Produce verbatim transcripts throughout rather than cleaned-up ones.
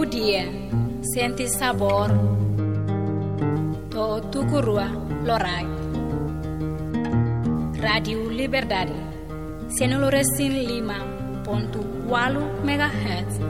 Dia, sente sabór. To'o tuku rua loraik. Rádiu Liberdade, cento e cinco ponto quatro megahertz.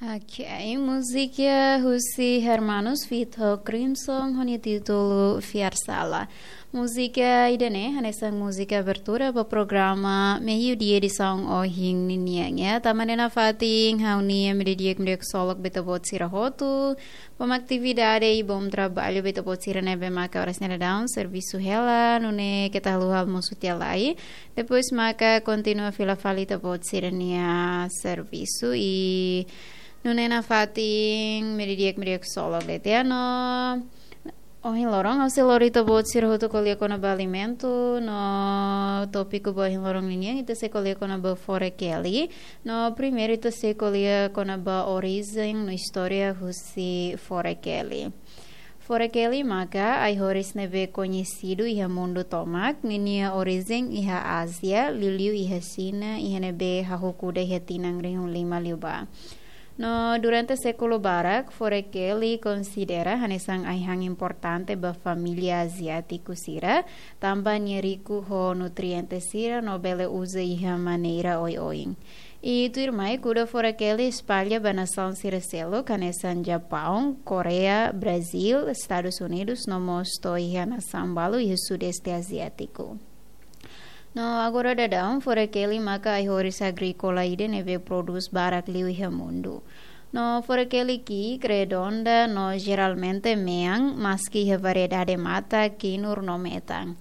Ok, múzika husi Hermanos feat Crimson ho nia títulu Fiar Sala. Múzika ida-ne'e hanesan múzika abertura ba programa Meiudia edisaun ohin ninian, ya. Tanba ne'e nafatin ha'u-nia imi di'ak, imi di'ak ksolok ba ita-boot sira hotu. Bom atividade i bom trabalho ba ita-boot sira ne'ebé maka oras ne'e daudaun servisu hela, nune'e keta haluha almosu tiha lai. Depois maka kontinua fila fali ita-boot sira-nia servisu i nune'e nafatin imi di'ak, imi di'ak ksolok de'it, ya, no. Ohin loron ha'u sei lori ita-boot sira hotu ko'alia kona-ba alimentu, no tópiku ba ohin loron ninian ita sei ko'alia kona-ba Forekeli. No primeiru ita sei ko'alia kona-ba orijen no istória husi Forekeli. Forekeli maka ai-horis ne'ebé koñesidu iha mundu tomak, ninia orijen iha Ázia, liuliu iha Xina, iha ne'ebé hahú kuda iha tinan rihun lima liubá. No durante sékulu barak, Forekeli konsidera hanesan ai-han importante ba família aziátiku sira, tanba nia riku ho nutriente sira no bele uza iha maneira oioin. I tuirmai kuda Forekeli espalla ba nasaun sira seluk, hanesan Japaun, Koreia, Brazíl, Estadus Unidus, no mós to'o iha nasaun balu iha Sudeste Aziátiku. No agora daudaun, Forekeli maka ai-horis agríkola ida ne'ebé prodús barak liu iha mundu. No Forekeli ki'ik redonda no jeralmente mean, maski iha variedade mata, kinur no metan.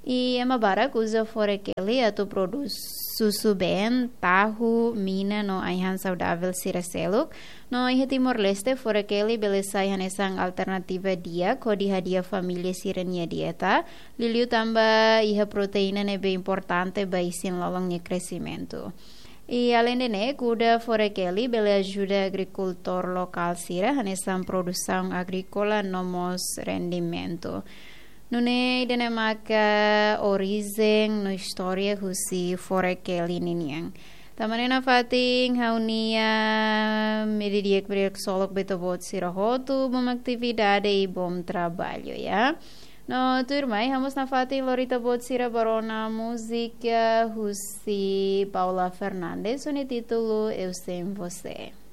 I ema barak uza Forekeli atu prodús susubeen, tahu, mina no ai-han saudavel sira seluk. No iha Timor-Leste, Forekeli bele sai hanesan alternativa di'ak hodi hadi'a família sira-nia dieta, liuliu tanba iha proteína ne'ebé importante ba isin-lolon nia kresimentu. I aleinde ne'e, kuda Forekeli bele ajuda agrikultór lokál sira hanesan produsaun agríkola no mós rendimentu. Nune'e ida-ne'e maka orijen no istória husi Forekeli ninian. Tanba ne'e nafatin ha'u-nia imi di'ak, imi di'ak ksolok ba ita-boot sira hotu, bom atividade i bom trabalho, ya. No tuirmai, ha'u mós nafatin lori ita-boot sira ba rona múzika husi Paula Fernandes, ho nia títulu Eu Sem Você.